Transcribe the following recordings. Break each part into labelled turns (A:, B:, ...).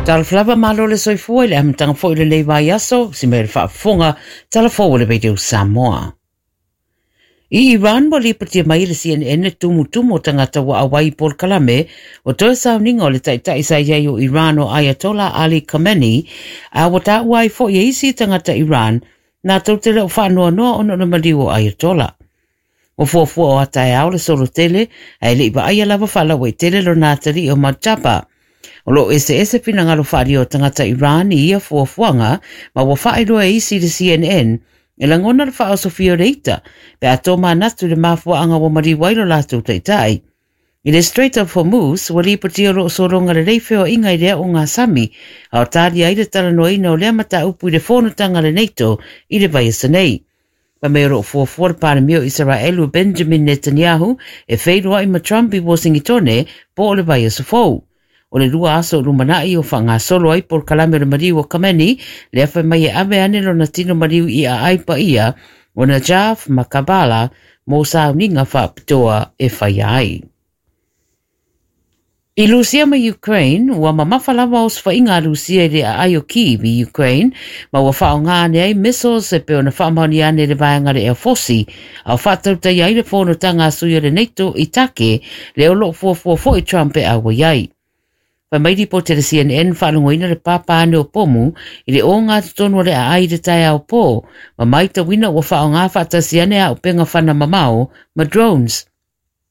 A: Talofa lava malo le soifua i le amataga foi o lenei vaiaso, si mea le faafofoga, tala fou o le Radio Samoa. I Iran ua lipotia mai e le CNN le tumutumu o tagata ua auai i polokalame o toe sauniga o le taitai sa i ai o Iran o Ayatollah Ali Khamenei, a ua taua ai foi e isi tagata Iran latou te le o faanoanoa ona o le maliu o Ayatollah. Ua fuafua o ataeao le solo tele, ae le i vaaia lava faalauaitele lona atalii o Mojtaba. O lo o eseese finagalo faaalia o tagata Iran i ia fuafuaga, ma ua faailoa e isi i le CNN e lagona le faaosofia o le ita pe a tomanatu i le mafuaaga ua maliu ai lo latou taitai. I le Strait of Hormuz, ua lipotia o lo o sologa lelei feoaiga i le aoga sami, a o talia ai le talanoaina o lea mataupu i le fonotaga a le NATO i le vaiaso nei. Fai mai o lo o fuafua le Palemia o Isaraelu o Benjamin Netanyahu e feiloai ma Trump i Uasingitone po o le vaiaso fou. O le 2 aso o lumanai o faagasolo ai polokalame o le maliu o Khamenei, lea fai mai e ave ane lona tino maliu i aai paia o Najaf ma Karbala mo sauniga faapitoa e faia ai. I Rusia ma Ukraine, ua mamafa lava osofaiga a Rusia i le aai o Kyiv i Ukraine, ma ua faaaoga ane ai missiles e pei ona faamaonia ane le vaega le Air Force, a o faatautaia ai le fonotaga a sui o le NATO i Take, lea o lo o fuafua foi Trump e auai ai. Fai mai lipoti a le CNN faalogoina le pāpā ane o pomu i le oga totonu o le aai i le taeao pō, ma maitauina ua faaaoga faatasi ane auupega fana mamao ma drones.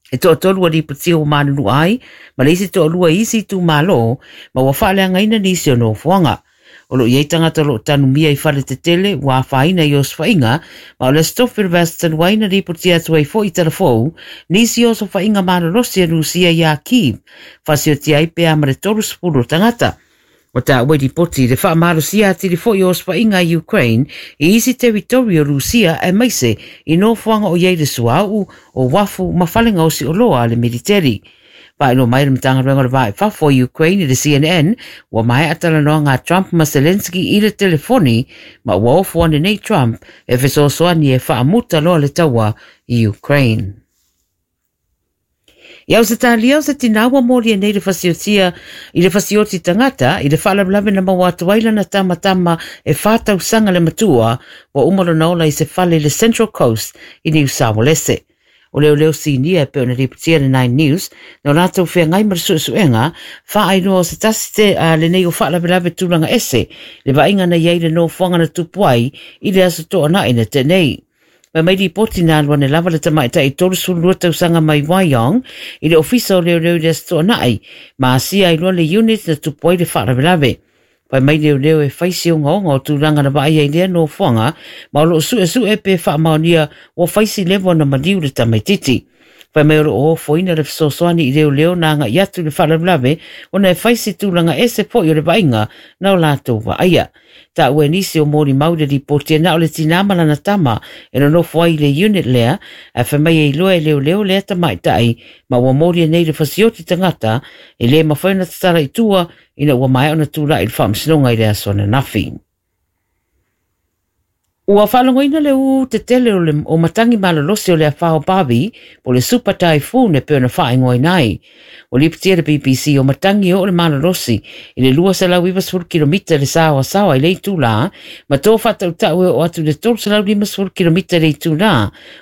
A: E toatolu ua lipotia ua malulu ai, ma le isi toalua i isi itumalo, ma ua faaleagaina nisi o nofoaga. O lo o i ai tagata o lo o tanumia i fale tetele ua afaina i osofaiga, ma o le Aso Tofi o le vaiaso talu ai na lipotia atu ai foi i Talafou nisi o osofaiga malolosi a Rusia iā Kyiv, faasiotia ai pe a ma le 30 o tagata. Ua taua i lipoti le faamalosia atili foi o osofaiga a Ukraine i isi teritori o Rusia aemaise i nofoaga o i ai le suauu, o uafu ma fale gaosi oloa a le militeri. Faailoa mai le Matagaluega o le Va i Fafo o Ukraine i le CNN ua maea talanoaga a Trump ma Zelensky i le telefoni, ma ua ofo ane nei Trump e fesoasoani e faamuta loa le taua i Ukraine. I Ausetalia, o se tinā ua molia nei le fasiotia i le fasioti tagata i le faalavelave na maua atu ai lana tamatama e 4 tausaga le matua ua uma lona ola i se fale i le Central Coast i Niu Sawalese. O leoleo sinia e pei ona lipotia le Nine News na o latou feagai ma le suesuega faailoa o se tasi te a lenei o faalavelave tulaga ese le vaaiga na i ai le nofoaga na tupu ai i le aso Toonai na tea nei. Fai mai lipoti na alu ane lava le tamaitai 32 tausaga mai Wyong i le ofisa o leoleo i le aso Toonai ma asia ai loa le unit na tupu ai le faalavelave. Fai mai leoleo e fai si ogaoga o tulaga na vaaia i lea nofoaga, ma o lo o suesue pe faamaonia ua fai si leva ona maliu le tamaitiiti. Fai mai o lo o ofoina le fesoasoani i leoleo na agai atu i le faalavelave ona e fai si tulaga ese foi o le vaaiga na o latou vaaia. Taua e nisi o molimau i le lipoti e na o le tinā ma lana tama e nonofo ai i le unit lea, ae fai mai e iloa e leoleo lea tamaitai ma ua molia nei le fasioti tagata e le mafai ona tatala i tua ina ua maea ona tulai i le faamasinoga i le aso ananafi. Ua faalogoina le ū tetele o le o matagi malolosi o le afa o Bavi, po o le Super Typhoon e pei ona faaigoaina ai. Ua lipotia le BBC o matagi e oo le malolosi i le 290 kilomita i le saoasaoa i le itulā, ma to faatautau e oo atu i le 350 kilomita i le itulā,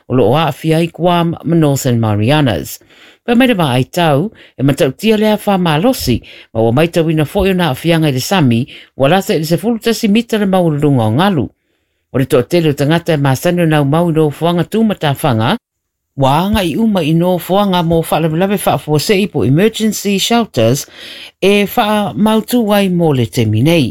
A: o lo o aafia ai Guam ma Northern Marianas. Fai mai le vaai tau, e matautia le afa malosi, ma ua maitauina foi ona aafiaga i le sami, ua lata i le 11 mita le maualuluga o galu. O le toatele o tagata e masani ona aumau i nofoaga tumatafaga, ua agai uma i nofoaga mo faalavelave faafuasei po emergency shelters e faamautu ai mo le taimi nei.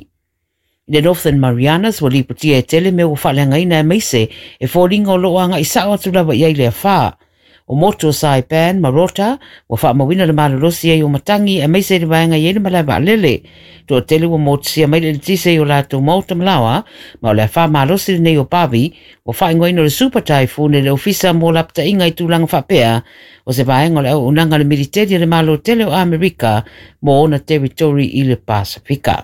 A: I le Northern Marianas, ua lipotia e tele mea ua faaleagaina aemaise e foliga o lo o agai sao atu lava i ai le afa. O motu o Saipan ma Rota, ua faamauina le malolosi ai o matagi aemaise i le vaega i ai le malae vaalele. Toatele ua motusia mai le eletise i o latou maota ma laoa, ma o le afa malosi lenei o Bavi, ua faaigoaina o le Super Typhoon e le Ofisa mo Lapataiga i tulaga faapea, o se vaega o le auaunaga a le militeri a le Malo tele o Amerika mo ona teritori i le Pasefika.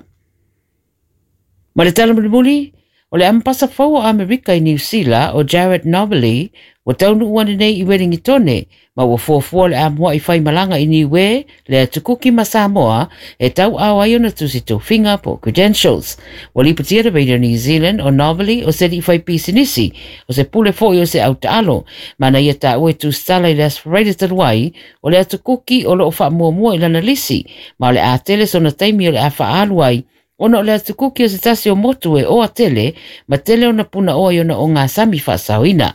A: Ma le tala mulimuli, o le amepasa fou o Amerika i Niu Sila o Jared Nobili ua taunuu ane nei i Welingitone. Ma ua fuafua o le a mua'i faimalaga i Niue, le Atu Kuki ma Samoa e tauaao ai ona tusi tofiga po o credentials. Ua lipotia e le Radio New Zealand o Novelly o se alii faipisinisi, o se pule foi o se autaalo, ma na ia taua i tusitala i le Aso Faraile talu ai, o le Atu Kuki o lo o faamuamua i lana lisi, ma o le a tele sona taimi o le a faaalu ai, ona o le Atu Kuki o se tasi o motu e oa tele ma tele ona punaoa i ona ogasami faasaoina.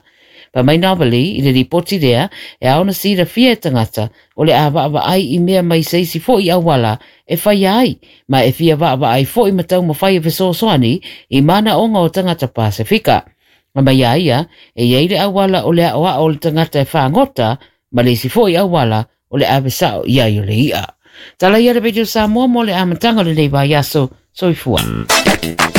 A: Fai mai Novelly i le lipoti lea e ao ona silafia e tagata o le a vaavaai i mea mai se isi foi auala e faia ai, ma e fia vaavaai foi ma taumafai e fesoasoani i manaoga o tagata Pasefika. Fai mai a ia, e i ai le auala o le aoao o le tagata e fagota, ma le isi foi auala o le ave sao i ai o le i'a. Tala ia le Radio Samoa mo le amataga o lenei vaiaso. Soifua.